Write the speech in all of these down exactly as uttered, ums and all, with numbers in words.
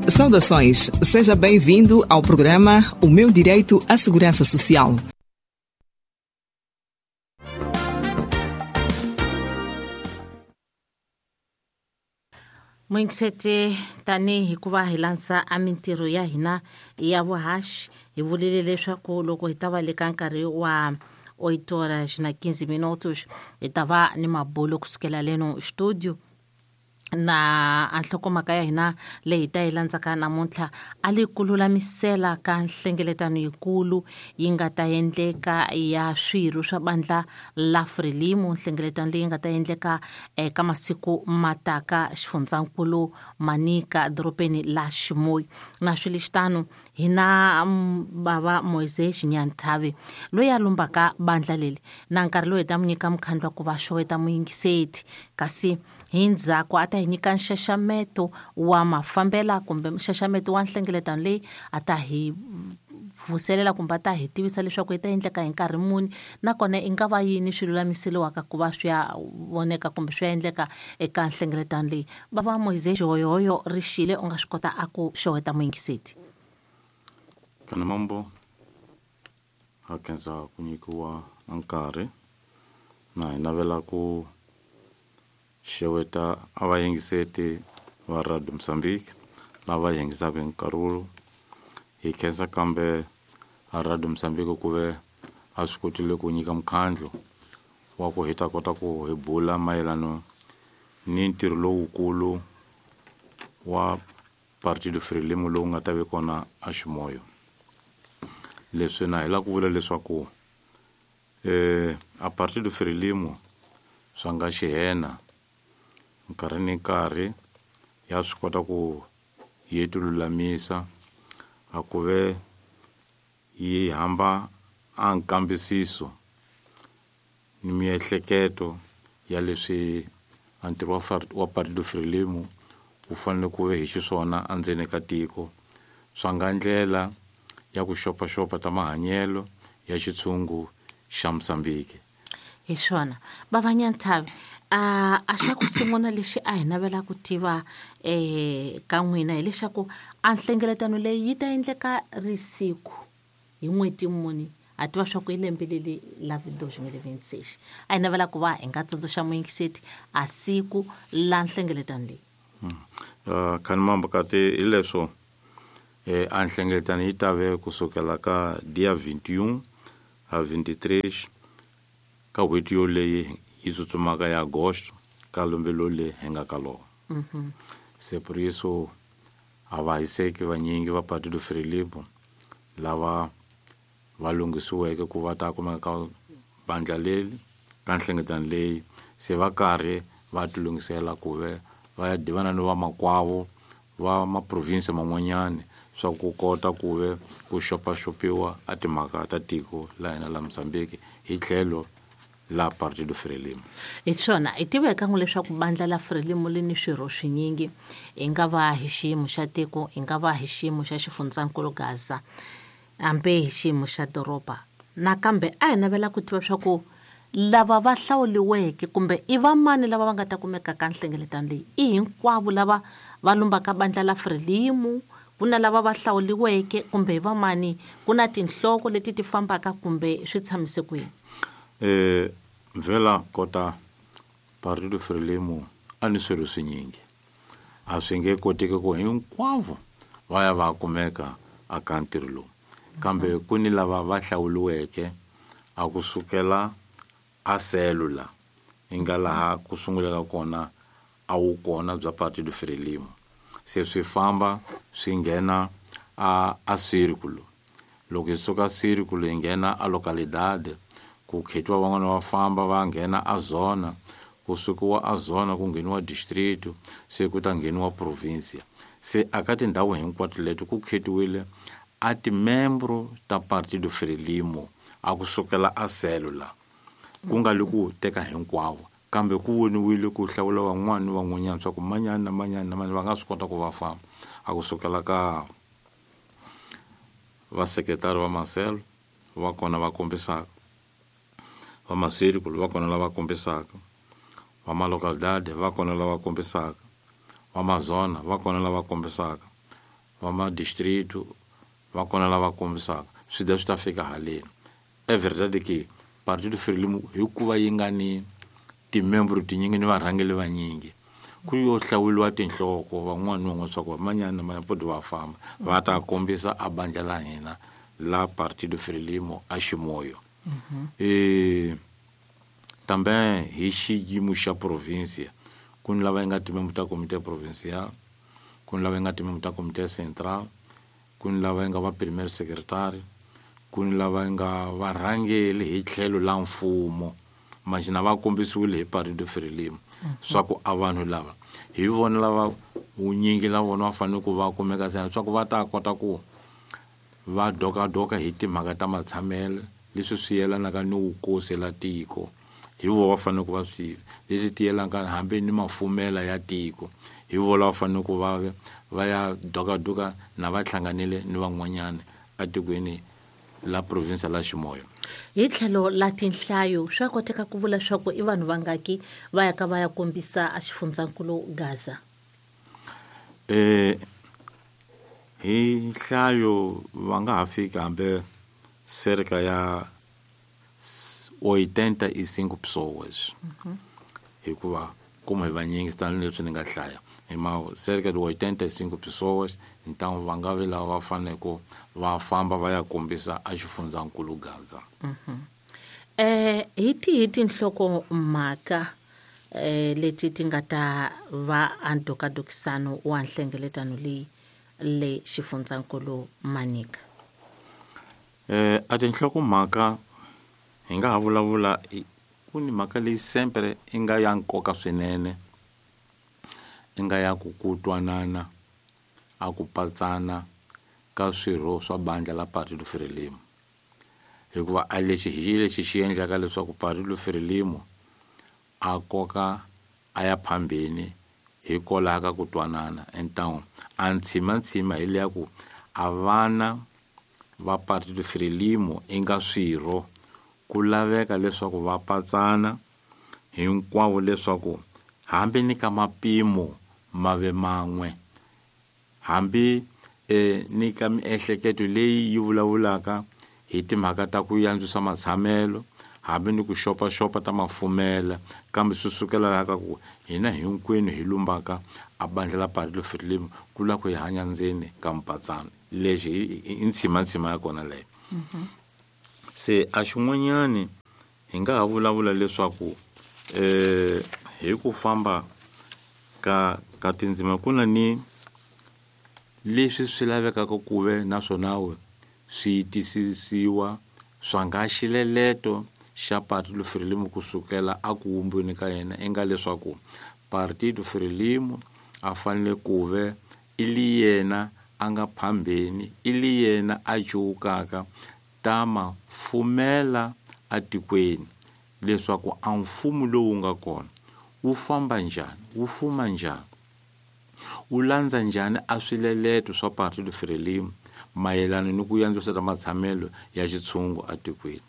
Saudações, seja bem-vindo ao programa O Meu Direito à Segurança Social. Muyingiseti, tanihi ku va hi landza a mintirho ya hina ya vuhaxi, hi vulile leswaku loko hi ta va le ka nkarhi wa oito horas na quinze minutos hi ta va ni mabulo kusukela leno studio na a nhlokomhaka ya hina leyi hi ta yi landzaka namuntlha a li ku lulamisela ka nhlengeletano yikulu yi nga ta endleka ya swirho swa bandla la Frelimo, nhlengeletano leyi nga ta endleka eka masiku mataka xifundzankulu Manica dorobeni la Chimoio. Na swilexitano hi na bava Moisés Nyanthave loyi a lumbaka bandla leri na nkarhi lowu hi ta mu nyika mukhandlu wa ku va xoweta muyingiseti, kasi hi ndzhaku a ta hi nyika nxaxameto wa mafambela kumbe nxaxameto wa nhlengeletano leyi a ta hi vuselela kumbe a ta hi tivisa leswaku yi ta endleka hi nkarhi muni, nakona i nga va yini swi lulamiseriwaka ku va swi ya voneka kumbe swi ya endleka eka nhlengeletano leyi. Bava Moisés Hoyohoyo Rixile, u nga swi kota a ku xoweta muyingiseti. Kana mambo ha khensa ku nyikiwa nkarhi na hi navela ku xeweta a va yingiseti va Radio Mozambique lava yingisaka hi nkarhi wolowo. Hi khensa kambe a Radio Mozambique ku ve a swi kotile ku nyika mukhandlu wa ku hi ta kota ku hi bula mayelano ni ntirho lowukulu wa Partido Frelimo lowu nga ta ve kona a Chimoio. Leswi na hi lava ku vula leswaku eh a Partido Frelimo swa nga xihena nkarhi ni nkarhi ya swi kota ku yi ti lulamisa a ku ve yi hamba a nkambisiso ni miehleketo ya leswi a ntirho wa wa Partido Frelimo wu fanele ku ve hi xiswona endzeni ka tiko, swa nga ndlela ya ku xopaxopa ta mahanyelo ya xitshungu xa Mozambique. Hi swona bava Nyanthave, a a xa ku sungula lexi a hi navela ku tiva eh ka n'wina hileswaku a nhlengeletano leyi yi ta endleka risiku hi n'hweti muni, a tiva swa ku i lembe leri la dois mil e vinte e seis. A hi navela ku va hi nga tsundzuxa muyingiseti a siku la nhlengeletano leyi. Uh, khani mambo kati hi leswo eh, a nhlengeletano yi ta ve kusukela ka dia vinte e um a vinte e três ka n'hweti yoleyi yi tsutsumaka ya agosto ka lembe lole hi nga ka lona. Mm-hmm. Se por isso a va hiseki vanyingi va Partido Frelimo lava va lunghisiweke ku va ta kumeka ka bandla leri ka nhlengeletano leyi, se va karhi va ti lunghisela ku ve va ya divana ni vamakwavo va maprovinsi man'wanyani swa ku kota ku ve ku xopaxopiwa a timhaka ta tiko la hina la Mozambique hi tlhelo la Partido Frelimo. Hi swona hi tiva eka n'wi leswaku bandla la Frelimo li ni swirho swinyingi, hi nga va hi xiyimo xa tiko, hi nga va hi xiyimo xa xifundzankulu Gaza, hambi hi xiyimo xa doroba. Nakambe a hi navela ku tiva swa ku lava va hlawuriweke kumbe i vamani lava va nga ta kumeka ka nhlengeletano leyi, i hinkwavo lava va lumbaka bandla la Frelimo, ku na lava va hlawuriweke kumbe hi vamani, ku na tinhloko leti ti fambaka kumbe swi tshamise kwihi? Eh vela kota Partido Frelimo a ni swirho swinyingi, a swi nge koteki ku hinkwavo va ya va kumeka a ka ntirho lowu, kambe ku ni lava va hlawuriweke a ku sukela a celula yi nga laha ku sunguleka kona a wu kona bya Partido Frelimo, se swi famba swi nghena a a círculo. Loko hi suka círculo hi nghena a localidade, ku khetiwa van'wana va famba va nghena a zona, ku sukiwa a zona ku ngheniwa distrito, se ku ta ngheniwa provincia. Se aka tindhawu hinkwato leti ku khetiwile a timembro ta Partido Frelimo a ku sukela a celula, ku nga li ku teka hinkwavo, kambe ku voniwile ku hlawula van'wana ni van'wanyana swa ku manyana na manyana na manyana va nga swi kota ku va famba a ku sukela ka vaseketari va Marcelo va kona va kombisaka, va masirikulu va kona lava kombisaka, va malocalidade va kona lava kombisaka, va mazona va kona lava kombisaka, va ma distrito va kona lava kombisaka swi da swi ta fika haleni. É verdade que Partido Frelimo hikuva yi nga ni timembro tinyingi ni varhangeri vanyingi ku yo hlawuriwa tinhloko van'wana ni van'wana swa ku manyana ma podi va famba va ta kombisa a bandla la hina la Partido Frelimo a Chimoio. E também hi xiyimo xa província ku ni lava yi nga timembro ta comité provincial, ku ni lava yi nga timembro ta comité central, ku ni lava yi nga va primeiro secretário, ku ni lava yi nga varhangeri hi tlhelo la mfumo manjhe va kombisiwile hi Partido Frelimo swa ku a vanhu lava hi vona lava vunyingi la vona va fanele ku va kumeka ntsena swa ku va ta kota ku va dokadoka hi timhaka ta matshamelo leswi swi yelanaka ni vukosi la tiko hi vona va fanele ku va swi leswi ti yelanaka hambi ni mafumela ya tiko hi vona va fanele ku va va ya dokadoka na va hlanganile ni van'wanyana etikweni la province la Chimoio. Hi tlhelo la tinhlayo swa koteka ku vula swa ku i vanhu vangaki va ya ka va ya kombisa a xifundzankulu Gaza? Eh hi nhlayo va nga ha fika hambi cerca ya oitenta e cinco pessoas. Hikuva como hi vanyingi tanihileswi ni nga hlaya hi ma cerca de oitenta e cinco pessoas, então va nga vi lava va fanele ku va famba va ya kombisa a xifundzankulu Gaza. Eh hi tihi tinhlokomhaka eh leti ti nga ta va a ndokadokisano wa nhlengeletano leyi le xifundzankulu Manica? Eh a tinhlokomhaka hi nga ha vulavula ku ni mhaka leyi sempre i nga ya nkoka swinene i nga ya ku ku twanana a ku patsana ka swirho swa bandla la Partido Frelimo hikuva a lexi hi lexi xi endlaka leswaku Partido Frelimo a koka a ya phambeni hikwalaho ka ku twanana. Então a ntshima-ntshima hi leya ku a vana va Partido Frelimo i nga swirho ku laveka leswaku va patsana hinkwavo leswaku hambi ni ka mapimo ma ve man'we hambi eh ni ka miehleketo leyi yi vulavulaka hi timhaka ta ku yandzisa matshamelo hambi ni ku xopaxopa ta mafumela kambe swi sukela laha ka ku hina hinkwenu hi lumbaka a bandla la Partido Frelimo ku lava ku hi hanya ndzeni ka mpatsano. Lexi i ntshima-ntshima ya kona leyo. Se a xin'wanyani hi nga ha vulavula leswaku eh hi ku famba ka ka tindzima ku na ni leswi swi lavekaka ku ve naswona swi tiyisisiwa swa nga xileleto xa Partido Frelimo kusukela a ku vumbiweni ka yena i nga leswaku Partido Frelimo a fanele ku ve i li yena a nga phambeni i li yena a cuwukaka ta mafumela atikweni leswaku a mfumo lowu nga kona wu famba njhani wu fuma njhani wu landza njhani a swileleto swa Partido Frelimo mayelana ni ku yandzisa ta matshamelo ya xitshungu atikweni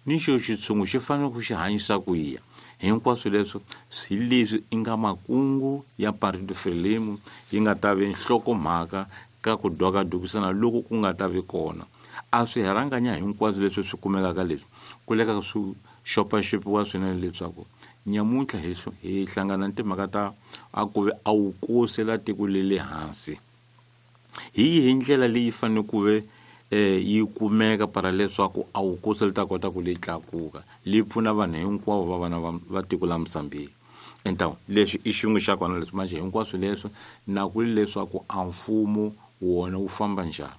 ni xo xitshungu xi fanele ku xi hanyisa ku yiya hinkwaswo leswo hi leswi i nga makungu ya Partido Frelimo yi nga ta ve nhlokomhaka ka ku dokadokisana loko ku nga ta vi kona a swi rhanganya hinkwaswo leswi swi kumekaka leswi ku leka swi xopaxopiwa swinene leswaku nyamuntlha hi hi hlangana ni timhaka ta a ku ve a wu kosela tiko le le hansi hi yihi ndlela leyi fanele ku ve eh yi kumeka para leswaku a wu kosela ta kota ku leyi tlakuka leyi pfuna vanhu hinkwavo va vana va tiko la Mozambique. Então lexi i xin'we xa kona leswi manje hinkwaswo leswi na ku leswaku a mfumo wona wu famba njhani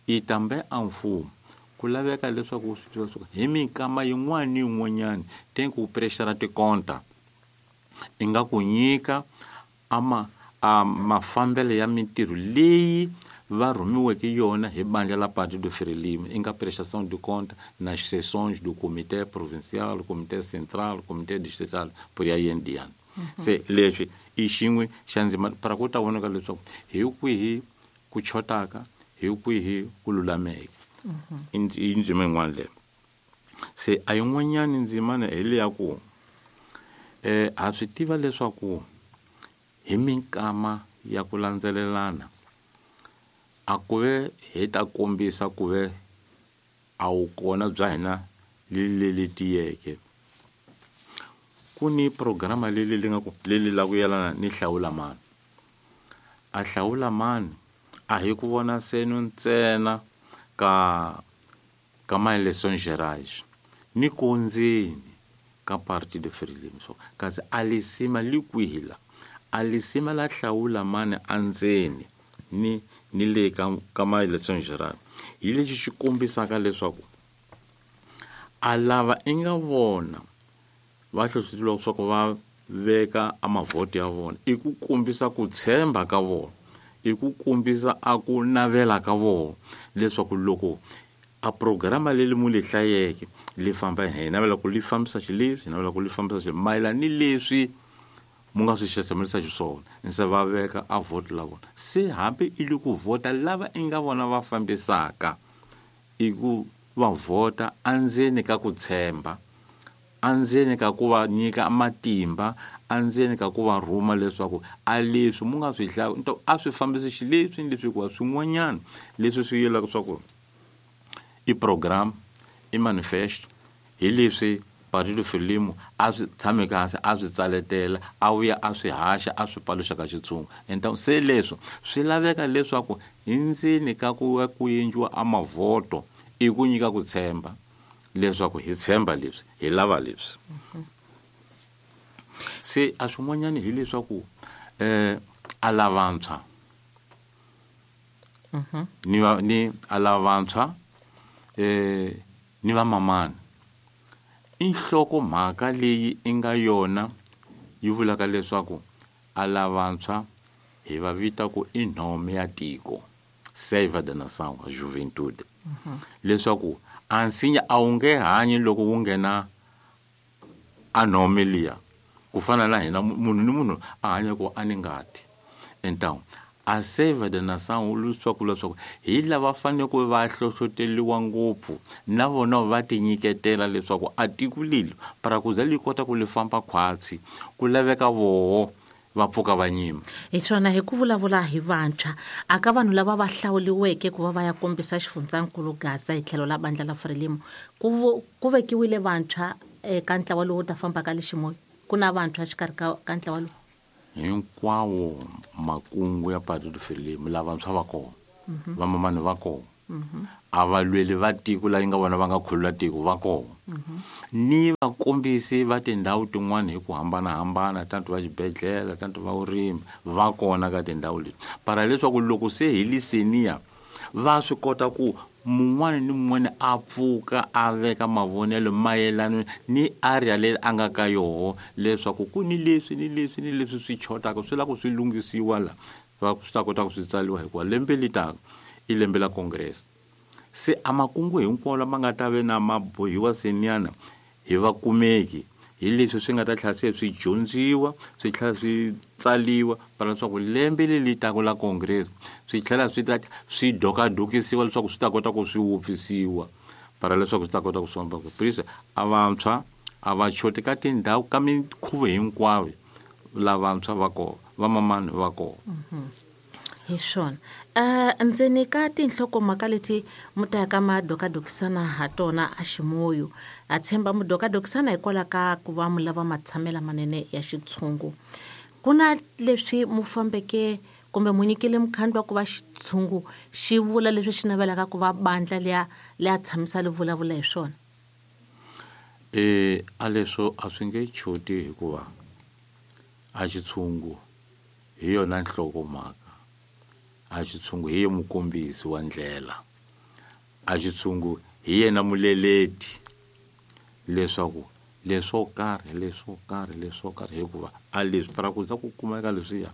i tambe a mfumo ku laveka leswaku swi tiva leswaku hi minkama yin'wana ni yin'wanyana tem ku pressure tikonta i nga ku nyika ama a mafambelo ya mintirho leyi va rhumiweke yona hi bandla la Partido Frelimo i nga prestação de conta nas sessões do comité provincial, comité central, comité distrital por aí em diante. Se leswi i xin'we xa ndzima para ku ta vonaka leswaku hi kwihi ku chotaka hi kwihi ku lulameke i ndzima yin'wana leyo. Se a yin'wanyani ndzimana hi leya ku eh ha swi tiva leswaku hi minkama ya ku landzelelana A ku ve hi ta kombisa ku ve a wu kona bya hina leli tiyeke. Ku ni programa leli li nga ku leli la ku yelana ni hlawula mani. A hlawula mani a hi ku vona seno ntsena ka ka ma-élections gerais ni ko ndzeni ka Partido Frelimo so kasi a lisima li kwihi la a lisima la hlawula mani andzeni ni ni le ka ka ma-élections gerais hi lexi xi kombisaka leswaku a lava i nga vona va hlohloteriwa leswaku va veka a mavhoti ya vona i ku kombisa ku tshemba ka vona i ku kombisa a ku navela ka vona leswaku loko a programa leli mu li hlayeke li famba hi navela ku li fambisa xileswi hi navela ku li fambisa xi mayelana ni leswi mu nga swi xaxamelisa xiswona nse va veka a vote la vona se hambi i li ku vhota lava i nga vona va fambisaka i ku va vhota andzeni ka ku tshemba andzeni ka ku va nyika matimba andzeni ka ku va rhuma leswaku a leswi mu nga swi hlaya a swi fambisi xileswi ni leswi hikuva swin'wanyana leswi swi yelaka swa ku i program i manifesto hi leswi Partido Frelimo a swi tshame hansi a swi tsaletela a vuya a swi haxa a swi paluxa ka xitshungu enta se leswo swi laveka leswaku hi ndzeni ka ku va ku endliwa a mavhoto i ku nyika ku tshemba leswaku hi tshemba leswi hi lava leswi se a swin'wanyana hileswaku eh a lavantshwa ni va ni a lavantshwa eh ni vamamani i nhlokomhaka leyi i nga yona yi vulaka leswaku a lavantshwa hi va vita ku i nhome ya tiko seiva da nação a juventude leswaku a nsinya a wu nge hanyi loko wu nghena a nhome liya ku fana na hina munhu ni munhu a hanya ku a ni ngati então a seiva da nação leswaku leswaku hi lava fanele ku va hlohloteriwa ngopfu na vona va tinyiketela leswaku a tiko leli para ku za li kota ku li famba khwatsi ku laveka voho va pfuka va nyima hi swona hi ku vulavula hi vantshwa a ka vanhu lava va hlawuliweke ku va va ya kombisa xifundzankulu Gaza hi tlhelo la bandla la Frelimo ku ku vekiwile vantshwa eka ntlawa lowu ta fambaka le Ximoyo ku na vantshwa xikarhi ka ka ntlawa lowu hinkwawo makungu ya Partido Frelimo lavantshwa va kona vamamani va kona a valweli va tiko la yi nga vona va nga khulula tiko va kona ni vakombisi va tindhawu tin'wana hi ku hambanahambana tantu va xibedhlele tantu va vurimi va kona ka tindhawu leti para leswaku loko se hi liseniya va swi kota ku mun'wana ni mun'wana a pfuka a veka mavonelo mayelana ni area leyi a nga ka yoho leswaku ku ni leswi ni leswi ni leswi swi chotaka swi lava ku swi lunghisiwa la swi ta kota ku swi tsariwa hikuva lembe li taka i lembe la congress se a makungu hinkwawo lama nga ta ve na ma bohiwa seniyana hi va kumeki hi leswi swi nga ta tlhela se swi dyondziwa swi tlhela swi tsaliwa para leswaku lembe leri taka la congress swi tlhela swi ta swi dokadokisiwa leswaku swi ta kota ku swi wupfisiwa para leswaku swi ta kota ku swi famba por isso a vantshwa a va choti ka tindhawu ka minkhuvo hinkwayo lavantshwa va kona vamamani va kona hi swona um ndzeni ka tinhlokomhaka leti mu ta ya ka madokadokisana ha tona a Ximoyo a tshemba mudokadokisana hikwalaho ka ku va mu lava matshamelo manene ya xitshungu ku na leswi mu fambeke kumbe mu nyikile mukhandlu wa ku va xitshungu xi vula leswi xi navelaka ku va bandla liya liya tshamisa li vulavula hi swona e a leswo a swi nge choti hikuva a xitshungu hi yona nhlokomhaka a xitshungu hi ye mukombisi wa ndlela a xitshungu hi yena muleleti leswaku leswo karhi leswo karhi leswo karhi hikuva a leswi para ku za ku kumeka leswiya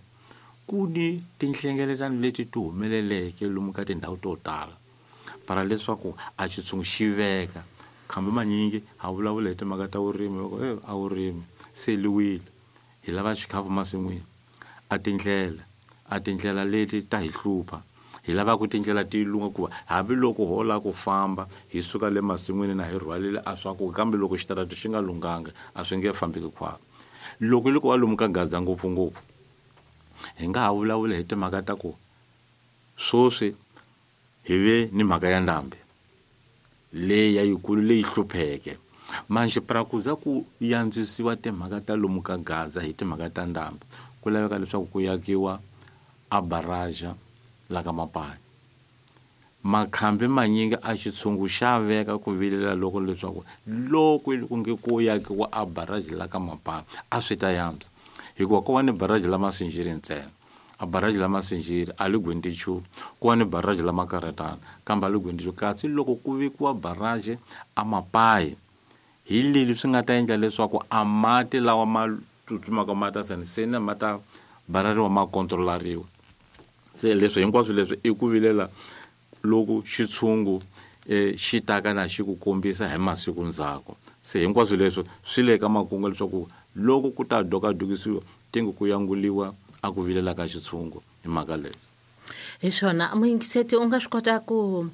ku ni tinhlengeletano leti ti humeleleke lomu ka tindhawu to tala para leswaku a xitshungu xi veka khambi manyingi ha vulavula hi timhaka ta vurimi loko e a vurimi se liwile hi lava xikhafu masin'wini a tindlela a tindlela leti ta hi hlupha hi lava ku tindlela ti lunga ku hambiloko ho lava ku famba hi suka le masin'wini na hi rhwalile a swa ku kambe loko xitarata xi nga lunghanga a swi nge fambeki khwatsi loko loko wa lomu ka Gaza ngopfungopfu hi nga ha vulavula hi timhaka ta ku swoswi Hi ve ni mhaka ya ndhambi leyi ya yikulu leyi hlupheke. Manjhe para ku za ku yandzisiwa timhaka ta lomu ka Gaza hi timhaka ta ndhambi, ku laveka leswaku ku yakiwa a baraja la ka Mapani. Makhambi manyingi a xitshungu xa veka ku vilela loko leswaku loko ku nge ku yakiwa a baraji la ka Mapani a swi ta yantswa, hikuva ku va ni baraji la Masinjiri ntsena. A baraji la Masinjiri a li gwendi nchumu, ku va ni baraji la Makaratana kambe a li gwendi nchumu. Kasi loko ku vekiwa baraji a Mapayi, hi leli swi nga ta endla leswaku a mati lawa ma tsutsumaka ma ta seni seni ma ta barariwa ma kontrolariwa. Se leswi hinkwaswo leswi i ku vilela loko xitshungu eh, xi taka na xi ku kombisa hi masiku ndzhaku. Se hinkwaswo leswi swi le ka makungu leswaku loko ku ta dokadokisiwa tingu ku yanguliwa a ku vilela ka xitshungu hi mhaka leyi. Hi swona muyingiseti u nga swi kota ku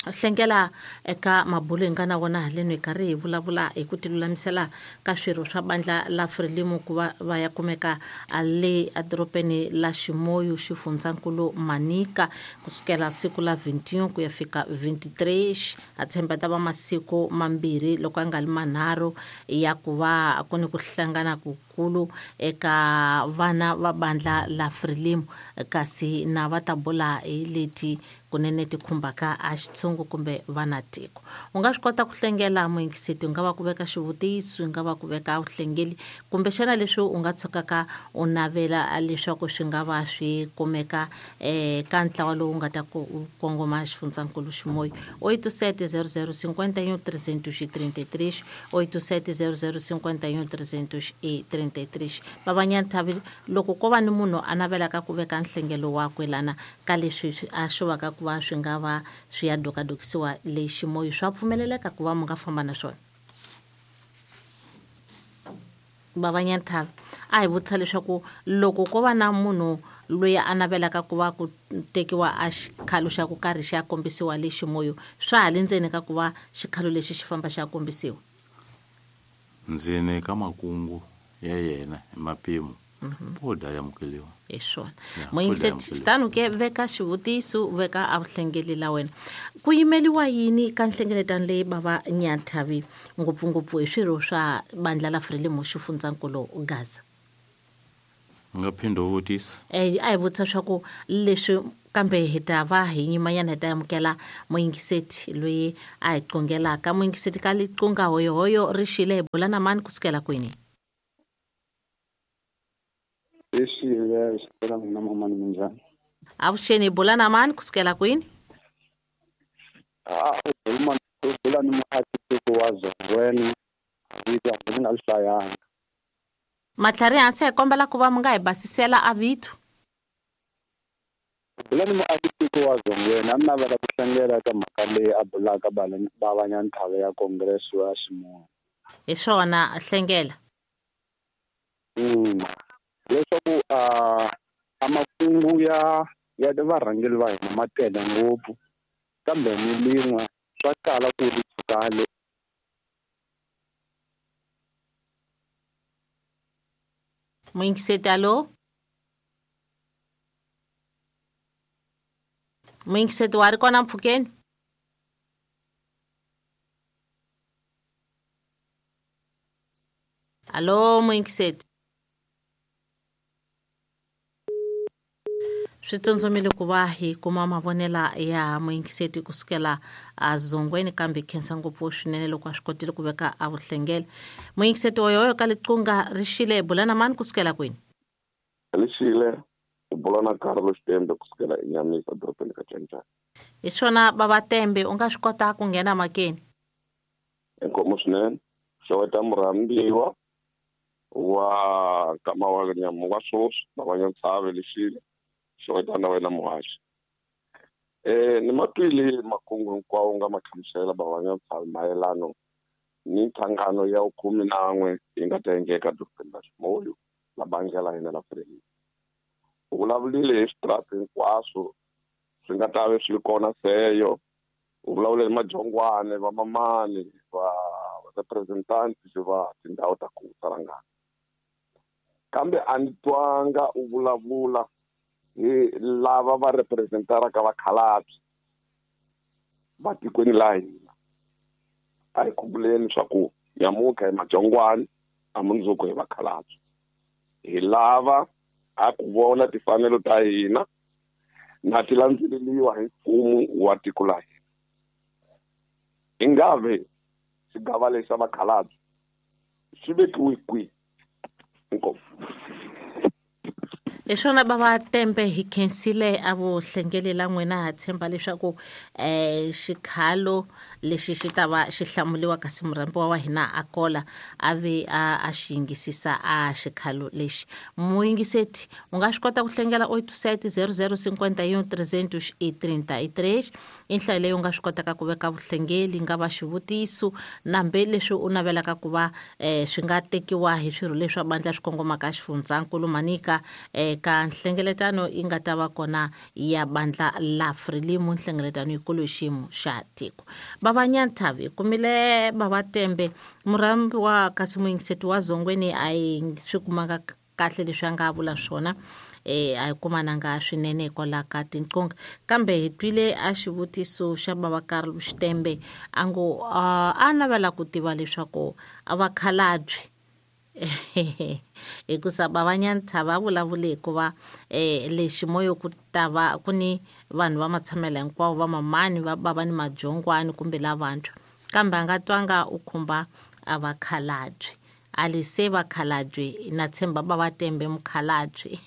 hlengela eka mabulo hi nga na wona haleni hi karhi hi vulavula hi ku tilulamisela ka swirho swa bandla la Frelimo ku va va ya kumeka a le edorobeni la Chimoio xifundzankulu Manica kusukela siku la vingt-et-un ku ya fika vingt-trois. A tshemba ta va masiku mambirhi loko a nga li manharhu ya ku va ku ni ku hlangana ku kulu eka vana va bandla la Frelimo, kasi na va ta bula hi leti kunene ti khumbaka a xitshungu kumbe vana tiko. U nga swi kota ku hlengela muyingiseti, u nga va ku veka xivutiso, u nga va ku veka vuhlengeli kumbexana leswi u nga tshukaka u navela leswaku swi nga va swi kumeka eh, ka ntlawa lowu nga ta ku kongoma xifundzankulu Chimoio. oito sete zero zero cinquenta e um trezentos e trinta e três, oito sete zero zero cinquenta e um trezentos e trinta e três. Vavanyanthavi, loko ko va ni munhu a navelaka ku veka nhlengelo wakwe lana ka leswi a xuvaka ku va swi nga va swi ya dokadokisiwa le Chimoio, swa pfumeleleka ku va mu nga famba na swona? Vavanyanthavi, a hi vutisa leswaku loko ko va na munhu loyi a navelaka ku va ku tekiwa a xikhalo xa ku karhi xa kombisiwa le Chimoio, swa ha le ndzeni ka ku va xikhalo lexi xi famba xa kombisiwa? Ndzeni ka makungu ya yena hi mapimo po da amukeliwa. Hi swona muyingiseti, tano ke veka xivutiso, veka a vuhlengeli la wena. Ku yimeliwa yini ka nhlengeletano leyi bava Nyathavi ngopfungopfu hi swirho swa bandla la Frelimo xifundzankulu Gaza? Nga phinda u vutisa. Eh, a hi vutisa swa ku leswi kambe hi ta va hi nyimanyana hi ta amukela muyingiseti loyi a hi qongelaka. Muyingiseti ka liqunga hoyohoyo ri xile, hi bula na mani kusukela kwini? Rixile, xikela n'wina mamani minjhani? Avuxeni, hi bula na mani kusukela kwini? A u bula ni muakitiko wa Zongweni, vito hambi ni nga li hlayanga. Matlhari hansi hi kombela ku va mi nga hi basisela a vito. Bula ni muakitiko wa Zongweni, a ni navela ku hlengela ka mhaka leyi a bulaka Vavanyanthavi ya Congress wa Chimoio. Hi swona, hlengela. Mm. Leswaku a a makungu ya ya varhangeri va hina ma tele ngopfu, kambe ni lin'we swa kala ku ri tsukale. Muyingiseti, alo? Muyingiseti wa ri kona mpfhukeni? Alo muyingiseti? Swi tsundzumile ku va hi kuma mavonela ya muyingiseti kusukela a Zongweni, kambe khensa ngopfu swinene loko a swi kotile ku veka a vuhlengele. Muyingiseti woyoyo ka liqunga ri xile, hi bula na mani kusukela kwini? Ri xile, hi bula na Carlos Tembe kusukela eNyamisa dorobeni ka Cancane. Hi swona bava Tembe, u nga swi kota ku nghena makeni? Inkomu swinene. Xeweta murhambiwa wa kama wa nyama wa swoswi Vavanyanthavi lexile. Xeweta na wena muhaxi. Eh ni matwile makungu hinkwawo nga ma hlamusela Vavanyanthavi mayelano ni nhlangano ya khume na n'we yi nga ta endleka dorobeni ra Chimoio la bandla hina la Frelimo. U vulavulile hi switirasi hinkwaswo swi nga ta ve swi ri kona seyo. U vulavule hi majongwane, vamamani, va representanti va tindhawu ta ku sarangana. Kambe a ni twanga u vulavula hi lava va representaraka vakhalabye. va tikweni la hina a hi khumbuleni swa ku nyamutlha hi majongwani a mundzuku hi vakhalabye hi lava a ku vona timfanelo ta hina na ti landzeleriwa hi mfumo wa tiko la hina hi nga ve xigava lexi xa vakhalabye xi vekiwe kwihi inkomu hi swona bava Tembe hi khensile a vuhlengeli la n'wina ha tshemba leswaku um xikhalo lexi xi ta va xi hlamuliwa kasi murhambiwa wa hina a kola a ve a a xi yingisisa a xikhalo lexi muyingiseti u nga swi kota ku hlengela oito sete zero zero cinquenta e um trezentos e trinta e três i nhlayo leyi u nga swi kotaka ku veka vuhlengeli nga va xivutiso nambe leswi u navelaka ku va um swi nga tekiwa hi swirho leswi bandla swi kongomaka xifundzankulu Manica um ka nhlengeletano yi nga ta va kona ya bandla la Frelimo nhlengeletano yikulu xiyimo xa tiko bava Nyanthavi kumile bava Tembe murhambi wa kasi muyingiseti wa Zongweni a yi swi kumanga kahle leswi a nga vula swona eh a yi kumananga swinene hikwalaho ka tinqingho kambe hi twile a xivutiso xa bava Carlos Tembe a ngo a navela ku tiva leswaku a vakhalabye hikusa bava Nyantha va vulavule hikuva eh lexi moyo ku ta va ku ni vanhu va matshamela hinkwavo va mamani va bava ni majongwani kumbe lavantshwa kambe a nga twanga u khumba a vakhalabye a li se vakhalabye na tshemba bava Tembe mukhalabye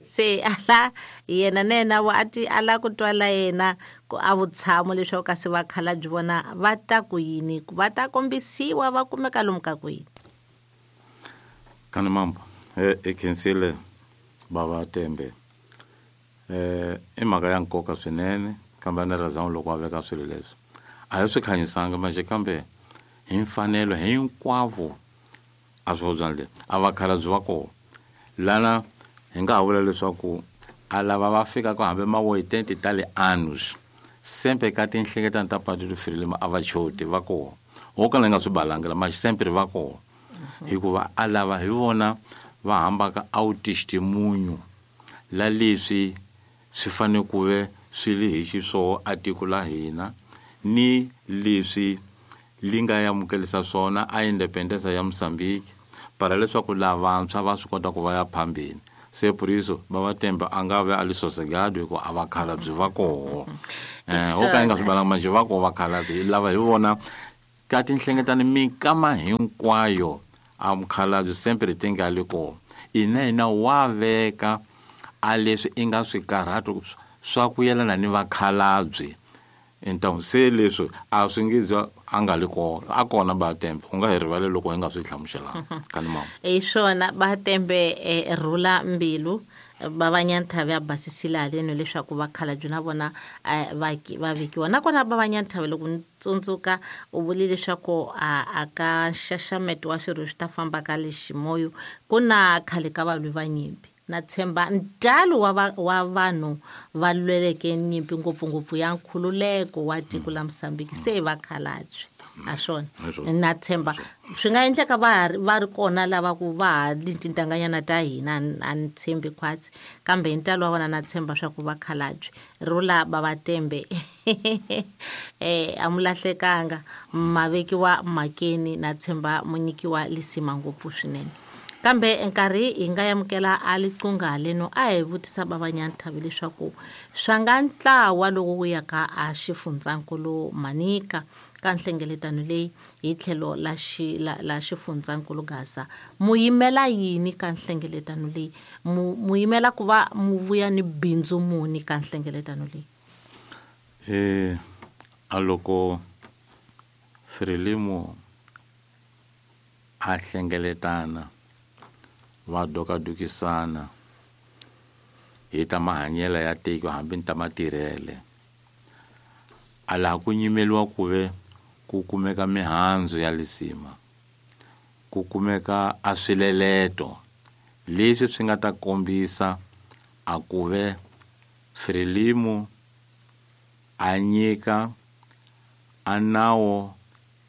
se ala yena na yena wa ati ala ku twala yena ku a vutshamo leswaku kasi vakhalabye vona va ta ku yini va ta kombisiwa va kumeka lomu ka kwini Kani mambo e e khensile bava Tembe eh i mhaka ya nkoka swinene kambe a ni razangu loko a veka swilo leswi a hi swi khanyisanga manje kambe hi mfanelo hinkwavo a swi byani le a vakhalabye va kona lana hi nga ha vula leswaku a lava va fikaka hambi mawoitente ta le anus sempre ka tinhlengeletano ta Partido Frelimo a va choti va kona wo kala hi nga swi balangela ma sempre va kona hikuva a lava hi vona va hambaka autotestemunho la leswi swi fanele ku ve swi li hi xiswona a tiko la hina ni leswi li nga amukelisa swona a independence ya Mozambique para leswaku lavantshwa va swi kota ku va ya phambeni se por isso bava Tembe a nga ve a li sosegado hikuva a vakhalabye va koho eh wo ka yi nga swi balanga manje va koho vakhalabye lava hi vona ka tinhlengeletano minkama hinkwayo a mukhalabye sempre ti nga li kona ina hina wa veka a leswi i nga swikarhato swa ku yelana ni vakhalabye então se leswi a swi nge za a nga li kona a kona ba Tembe u nga hi rivali loko hi nga swi hlamuselanga kani mama hi swona ba Tembe eh, rhula mbilu bava Nyanthavi a basisile haleni leswaku vakhalabye na vona va va vekiwa nakona bava Nyanthavi loko ni tsundzuka u vule leswaku a a ka nxaxameto wa swirho swi ta famba ka le ximoyo ku na khale ka valwi va nyimpi na tshemba ntalo wa va, wa vanhu va lweleke nyimpi ngopfungopfu ya nkhululeko wa tiko la Mozambique se vakhalabye a swona na tshemba swi nga endleka va va ri kona lava ku va ha li tintanganyana ta hina a ni tshembi khwatsi kambe hi ntalo wa vona na tshemba swa ku vakhalabye rula bava Tembe eh a mu lahlekanga ma vekiwa mhakeni na tshemba mu nyikiwa lisima ngopfu swinene kambe nkarhi hi nga amukela a liqunga haleno a hi vutisa bava Nyanthavi leswaku swa nga ntlawa lowu wu yaka a xifundzankulu Manica ka nhlengeletano leyi hi tlhelo la xi la, la xifundzankulu Gaza mu yimela yini ka nhlengeletano leyi mu, mu yimela ku va mu vuya ni bindzu muni ka nhlengeletano leyi eh a loko Frelimo a hlengeletana va dokadukisana hi ta mahanyelo ya tiko hambi ni ta matirhele a laha ku nyimeliwa ku ve ku kumeka mihandzu ya lisima ku kumeka a swileleto leswi swi nga ta kombisa a ku ve Frelimo a nyika a nawo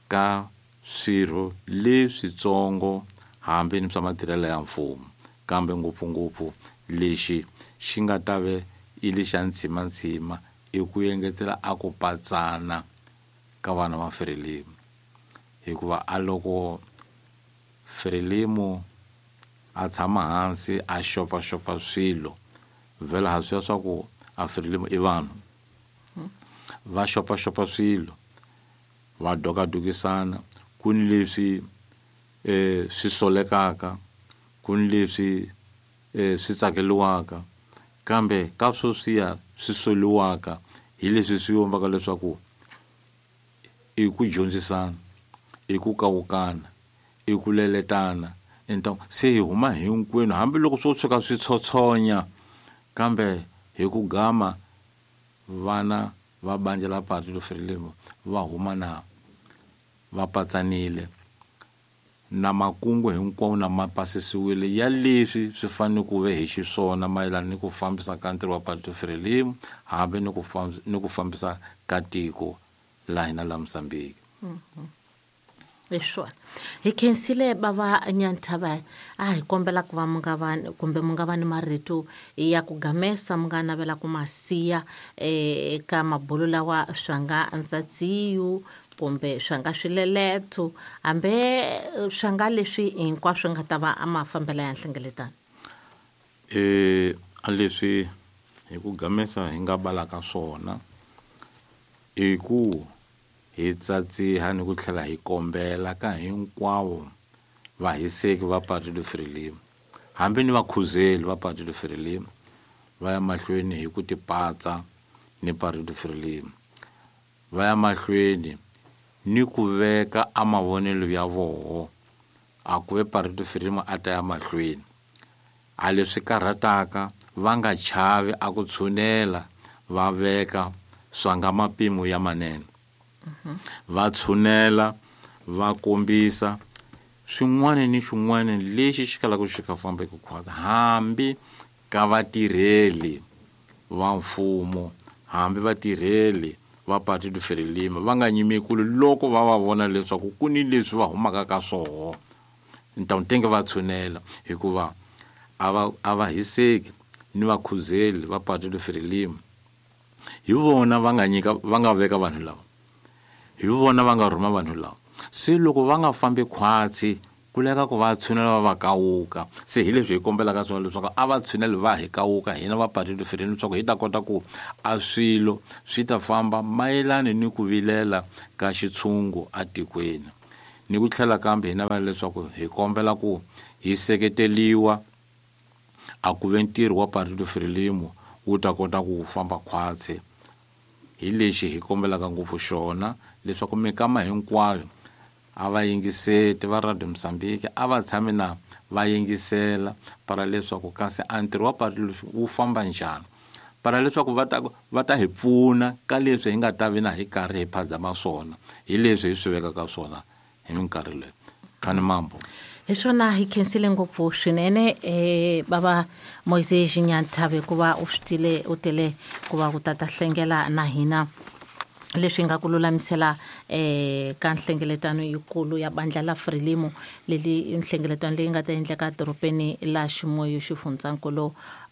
ka swirho leswitsongo hambi ni swa matirhelo ya mfumo kambe ngopfungopfu lexi xi nga ta ve i lexa ntshimantshima i ku engetela a ku patsana ka vana va Frelimo hikuva a loko Frelimo a tshama hansi a xopaxopa swilo vhela ha swi swa ku a Frelimo i vanhu va xopaxopa swilo va dokadokisana ku ni leswi eh swi solekaka ku ni leswi eh swi tsakeliwaka kambe ka swoswiya swi soliwaka hi leswi swi yombaka leswaku i ku dyondzisana i ku kawukana i ku leletana então se hi huma hinkwenu hambiloko swo tshuka swi tshotsonya kambe hi ku gama vana va bandla la Partido Frelimo va huma na va patsanile na makungu hinkwawo na ma pasisiwile ya leswi swi fanele ku ve hi xiswona mayelana ni ku fambisa ka ntirho wa Partido Frelimo hambi ni ku fambisa ni ku fambisa ka tiko la hina la Mozambique. Leswona hi khensile bava Nyanthava a hi kombela ku va mu nga va kumbe mu nga va ni marito ya ku gamesa mu nga navela ku masiya eka mabulo lawa swa nga ndzadziyu kumbe swa nga swileleto hambe swa nga leswi hinkwaswo nga ta va a mafambela ya nhlengeletano. Eh a leswi hi ku gamesa hi nga balaka swona i ku hi tsatsiha ni ku tlhela hi kombela ka hinkwavo vahiseki va Partido Frelimo hambi ni vakhuzeli va Partido Frelimo va ya mahlweni hi ku tipatsa ni Partido Frelimo va ya mahlweni ni ku veka a mavonelo ya voho a ku ve Partido Frelimo a ta ya mahlweni a leswi karhataka va nga chavi a ku tshunela va veka swa nga mapimo ya manene va tshunela va kombisa swin'wana ni xin'wana lexi xi kalaka xi ka famba ku khwaza hambi ka vatirheli va mfumo hambi vatirheli va Partido Frelimo va nga nyimekulu loko va va vona leswaku ku ni leswi va humaka ka swoho então tenge va tshunela hikuva a va a va hiseki ni vakhuzeli va Partido Frelimo hi vona va nga nyika va nga veka vanhu lava hi vona va nga rhuma vanhu lava se loko va nga fambi khwatsi ku leka ku va tshunela va va kawuka se hi leswi hi kombelaka swona leswaku a va tshuneli va hi kawuka hina va Partido Frelimo leswaku hi ta kota ku a swilo swi ta famba mayelana ni ku vilela ka xitshungu atikweni ni ku tlhela kambe hina va leswaku hi kombela ku hi seketeliwa a ku ve ntirho wa Partido Frelimo wu ta kota ku famba khwatsi hi lexi hi kombelaka ngopfu xona leswaku mikama hinkwayo a va yingiseti va Radio Mozambique a va tshami na va yingisela para leswaku kasi a ntirho wa Partido wu famba njhani para leswaku va ta va ta hi pfuna ka leswi hi nga ta vi na hi karhi hi phazama swona hi leswi hi swi vekaka swona hi minkarhi leyi khani mambo. Hi swona hi khensile ngopfu swinene eh bava Moises Nyanthave ku va u swi tile u tele ku va ku tata hlengela na hina leswi nga ku lulamisela eh ka nhlengeletano yikulu ya bandla la Frelimo leli nhlengeletano leyi nga ta endleka dorobeni la Ximoyo xifundzankulu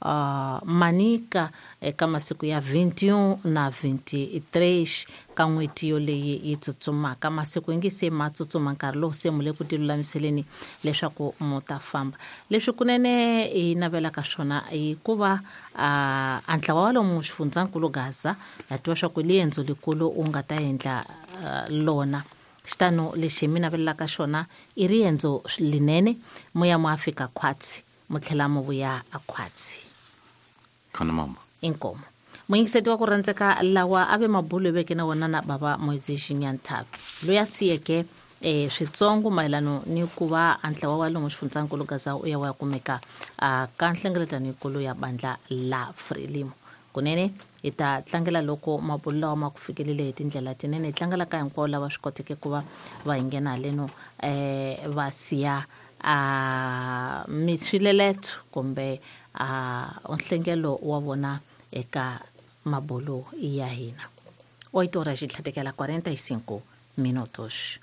uh, Manica eka masiku ya vinte e um na vinte e três ka n'hweti yoleyi yi tsutsumaka masiku yi nge se ma tsutsuma nkarhi lowu se mu le ku tilulamiseleni leswaku mu ta famba leswi kunene hi navelaka swona hikuva a ntlawa wa lomu xifundzankulu Gaza ha tiva swa ku liendzo likulu u nga ta endla lona xitano lexi mi navelelaka xona i riendzo linene mu ya mu Afrika khwatsi mu tlhela mu vuya a khwatsi khana mamba inkomo muyingiseti wa ku rhandzeka lawa a ve mabulo veke na wona na bava Moises Nyanthave loyi a siyeke eh switsongo mayelano ni ku va a ntlawa wa lomu xifundzankulu Gaza u ya wa ya kumeka ka nhlengeletano yikulu ya bandla la Frelimo kunene hi ta tlangela loko mabulo lawa ma ku fikelele hi tindlela tinene hi tlangela ka hinkwavo lava swi koteke ku va va hi nghena haleno eh va siya a miswileleto kumbe a nhlengelo wa vona eka mabulo ya hina oito horas e tlhatekela quarenta e cinco minutos.